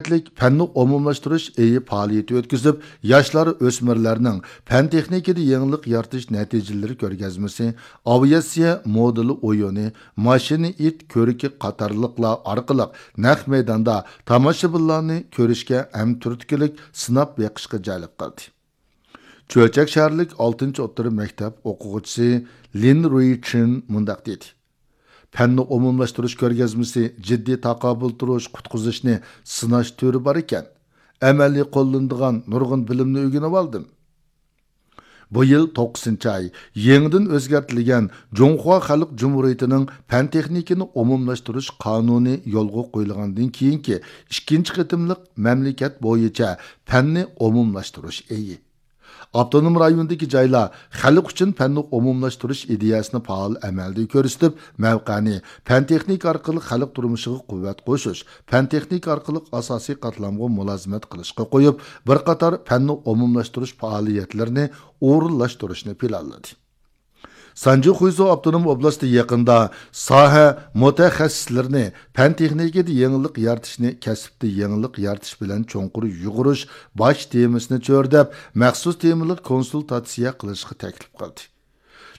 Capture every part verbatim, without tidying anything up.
مەملىكەتلىك پەننى ئومۇملاشتۇرۇش ئېيى پائالىيىتى ئۆتكۈزۈپ، ياشلار، ئۆسمۈرلەرنىڭ پەن تېخنىكىدا يېڭىلىق يارىتىش نەتىجىلىرى كۆرگەزمىسى، ئاۋىئاتسىيە مودېلى ئويۇنى، ماشىنا ئىت كۆركى قاتارلىقلار ئارقىلىق نەق مەيداندا تاماشىبىنلارنى كۆرۈشكە ھەم تۈرتكىلىك سىناپ بېقىشقا جەلپ قىلدى. چۆچەك شەھەرلىك ئالتىنچى ئوتتۇرا مەكتەپ ئوقۇغۇچىسى لىن رۇيچىن مۇنداق دېدى: پەننى ئومۇملاشتۇرۇش كۆرگەزمىسى جىددىي تاقابىل تۇرۇش، قۇتقۇزۇشنى سىناش تۈرى بار ئىكەن. ئەمەلىي قوللىنىدىغان نۇرغۇن بىلىمنى ئۆگىنىۋالدىم. بۇ يىل توققۇزىنچى ئاي يېڭىدىن ئۆزگەرتىلگەن جۇڭخۇا خەلق جۇمھۇرىيىتىنىڭ پەن تېخنىكىنى ئومۇملاشتۇرۇش قانۇنى يولغا قويۇلغاندىن كېيىنكى ئىككىنچى قېتىملىق مەملىكەت بويىچە پەننى ئومۇملاشتۇرۇش ئېيى. ئاپتونوم رايوندىكى جايلار خەلق ئۈچۈن پەننى ئومۇملاشتۇرۇش ئىدىيەسىنى پائال ئەمەلدە كۆرسىتىپ، مەۋقەنى پەن تېخنىكا ئارقىلىق خەلق تۇرمۇشىغا قۇۋۋەت قوشۇش، پەن تېخنىكا ئارقىلىق ئاساسىي قاتلامغا مۇلازىمەت قىلىشقا قويۇپ، بىر قاتار پەننى ئومۇملاشتۇرۇش پائالىيەتلىرىنى ئورۇنلاشتۇرۇشنى پىلانلىدى. سانجى خۇيزۇ ئاپتونوم ئوبلاستى يېقىندا ساھە مۇتەخەسسىسلىرىنى پەن تېخنىكىدا يېڭىلىق يارىتىشنى كەسىپتە يېڭىلىق يارىتىش بىلەن چوڭقۇر يۇغۇرۇش باش تېمىسىنى چۆرىدەپ، مەخسۇس تېمىلىق كونسۇلتاتسىيە قىلىشقا تەكلىپ قىلدى.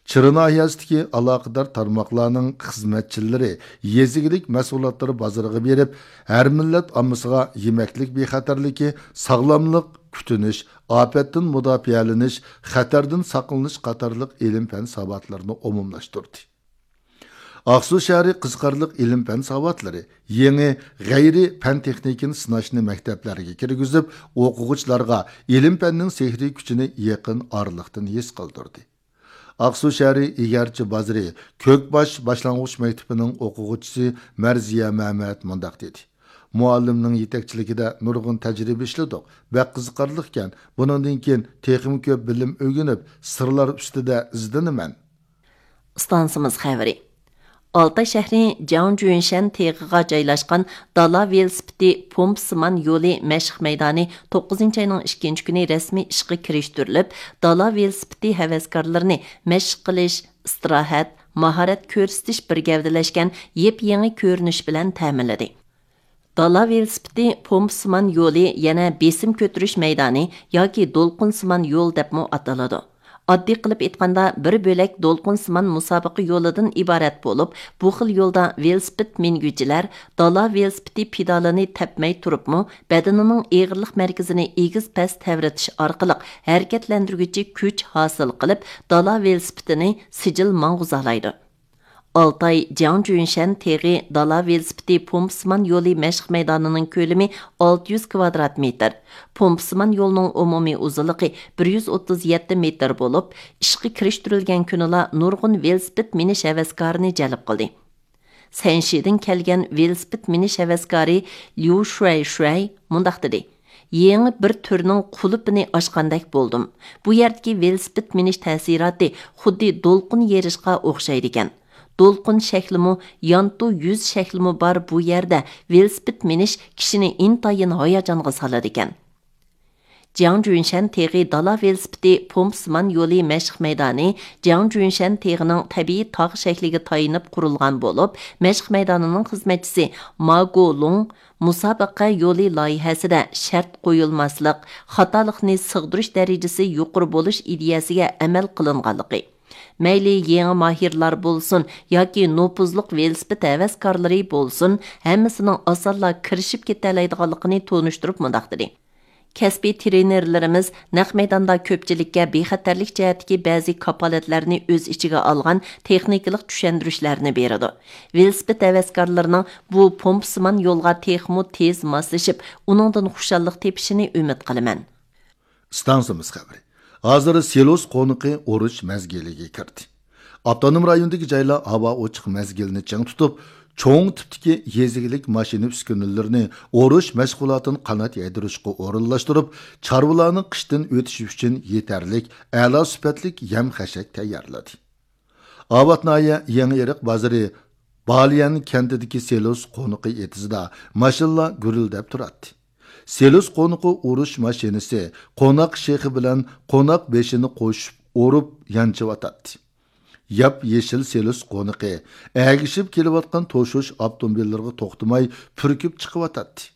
چىرى ناھىيەسىدىكى ئالاقىدار تارماقلارنىڭ خىزمەتچىلىرى يېزا ئىگىلىك مەھسۇلاتلىرى بازىرىغا بېرىپ، ھەر مىللەت ئاممىسىغا يېمەكلىك بىخەتەرلىكى، ساغلاملىق، كۈتۈنۈش، ئاپەتتىن مۇداپىئەلىنىش، خەتەردىن ساقلىنىش قاتارلىق ئىلىم-پەن ساۋاتلىرىنى ئومۇملاشتۇردى. ئاقسۇ شەھىرى قىزىقارلىق ئىلىم-پەن ساۋاتلىرى يېڭى غەيرىي پەن تېخنىكىنى سىناشنى مەكتەپلەرگە كىرگۈزۈپ، ئوقۇغۇچىلارغا ئىلىم-پەننىڭ سېھرىي كۈچىنى يېقىن ئارىلىقتىن ھېس قىلدۇردى. ئاقسۇ شەھىرى ئىگەرچى بازىرى كۆكباش باشلانغۇچ مەكتىپىنىڭ ئوقۇغۇچىسى مەرزىيە مەمەت مۇنداق دېدى: مۇئەللىمنىڭ يېتەكچىلىكىدە نۇرغۇن تەجرىبە ئىشلىدۇق. بەك قىزىقارلىقكەن. بۇنىڭدىن كېيىن تېخىمۇ كۆپ بىلىم ئۆگىنىپ، سىرلار ئۈستىدە ئىزدىنىمەن. ئىستانسىمىز خەۋىرى. ئالتاي شەھىرى جياڭجۈنشەن تېغىغا جايلاشقان دالا ۋېلىسىپىتى پومپىسىمان يولى مەشىق مەيدانى توققۇزىنچى ئاينىڭ ئىككىنچى كۈنى رەسمىي ئىشقا كىرىشتۈرۈلۈپ، دالا ۋېلىسىپىتى ھەۋەسكارلىرىنى مەشىق قىلىش، ئىستىراھەت، ماھارەت كۆرسىتىش بىر گەۋدىلەشكەن يېپيېڭى كۆرۈنۈش بىلەن تەمىنلىدى. دالا ۋېلىسىپىتى پومپىسىمان يولى يەنە بېسىم كۆتۈرۈش مەيدانى ياكى دولقۇنسىمان يول دەپمۇ ئاتىلىدۇ. ئاددىي قىلىپ ئېيتقاندا، بىر بۆلەك دولقۇنسىمان مۇسابىقە يولىدىن ئىبارەت بولۇپ، بۇ خىل يولدا ۋېلىسىپىت مىنگۈچىلەر دالا ۋېلىسىپىتى پېدالىنى تەپمەي تۇرۇپمۇ، بەدىنىنىڭ ئېغىرلىق مەركىزىنى ئېگىز-پەس تەۋرىتىش ئارقىلىق ھەرىكەتلەندۈرگۈچى كۈچ ھاسىل قىلىپ، دالا ۋېلىسىپىتىنى سىجىل ماڭغۇزالايدۇ. ئالتاي جياڭجۈنشەن تېغى دالا ۋېلىسىپىتى پومپىسىمان يولى مەشىق مەيدانىنىڭ كۆلىمى ئالتە يۈز كۋادرات مېتىر. پومپىسىمان يولنىڭ ئومۇمىي ئۇزۇنلۇقى بىر يۈز ئوتتۇز يەتتە مېتىر بولۇپ، ئىشقا كىرىشتۈرۈلگەن كۈنىلا نۇرغۇن ۋېلىسىپىت مىنىش ھەۋەسكارىنى جەلپ قىلدى. سەنشىدىن كەلگەن ۋېلىسىپىت مىنىش ھەۋەسكارى ليۇ شۇەي شۇەي مۇنداق دېدى: يېڭى بىر تۈرنىڭ قۇلۇپىنى ئاچقاندەك بولدۇم. بۇ يەردىكى ۋېلىسىپىت مىنىش تەسىراتى خۇددى دولقۇن يېرىشقا ئوخشايدىكەن. دولقۇن شەكلىمۇ، يانتۇ يۈز شەكلىمۇ بار بۇ يەردە ۋېلىسىپىت مىنىش كىشىنى ئىنتايىن ھاياجانغا سالىدىكەن. جياڭجۈنشەن تېغى دالا ۋېلىسىپىتى پومپىسىمان يولى مەشىق مەيدانى جياڭجۈنشەن تېغىنىڭ تەبىئىي تاغ شەكلىگە تايىنىپ قۇرۇلغان بولۇپ، مەشىق مەيدانىنىڭ خىزمەتچىسى ما گولۇڭ مۇسابىقە يولى لايىھەسىدە شەرت قويۇلماسلىق، خاتالىقنى سىغدۇرۇش دەرىجىسى يۇقىرى بولۇش ئىدىيەسىگە ئەمەل قىلىنغانلىقى، مەيلى يېڭى ماھىرلار بولسۇن ياكى نوپۇزلۇق ۋېلىسىپىت ھەۋەسكارلىرى بولسۇن، ھەممىسىنىڭ ئاسانلا كىرىشىپ كېتەلەيدىغانلىقىنى تونۇشتۇرۇپ مۇنداق دېدى: كەسپىي ترېنېرلىرىمىز نەق مەيداندا كۆپچىلىككە بىخەتەرلىك جەھەتتىكى بەزى كاپالەتلەرنى ئۆز ئىچىگە ئالغان تېخنىكىلىق چۈشەندۈرۈشلەرنى بېرىدۇ. ۋېلىسىپىت ھەۋەسكارلىرىنىڭ بۇ پومپىسىمان يولغا تېخىمۇ تېز ماسلىشىپ، ئۇنىڭدىن خۇشاللىق تېپىشىنى ئۈمىد قىلىمەن. ئىستانسىمىز خەۋىرى. ھازىر سېلۇس قونىقى ئۇرۇش مەزگىلىگە كىردى. ئاپتونوم رايوندىكى جايلار ھاۋا ئوچۇق مەزگىلىنى چىڭ تۇتۇپ، چوڭ تىپتىكى يېزا ئىگىلىك ماشىنا ئۈسكۈنىلىرىنى ئۇرۇش مەشغۇلاتىنى قانات يايدۇرۇشقا ئورۇنلاشتۇرۇپ، چارۋىلارنىڭ قىشتىن ئۆتۈشى ئۈچۈن يېتەرلىك، ئەلا سۈپەتلىك يەم-خەشەك تەييارلىدى. ئاۋات ناھىيە يېڭى ئېرىق بازىرى بالىيەن كەنتىدىكى سېلۇس قونىقى ئېتىزىدا ماشىنىلار گۈرۈلدەپ تۇراتتى. سېلۇس قونىقى ئۇرۇش ماشىنىسى قوناق شېخى بىلەن قوناق بېشىنى قوشۇپ ئۇرۇپ يانچىۋاتاتتى. ياپيېشىل سېلۇس قونىقى ئەگىشىپ كېلىۋاتقان توشۇش ئاپتوموبىللىرىغا توختىماي پۈركۈپ چىقىۋاتاتتى.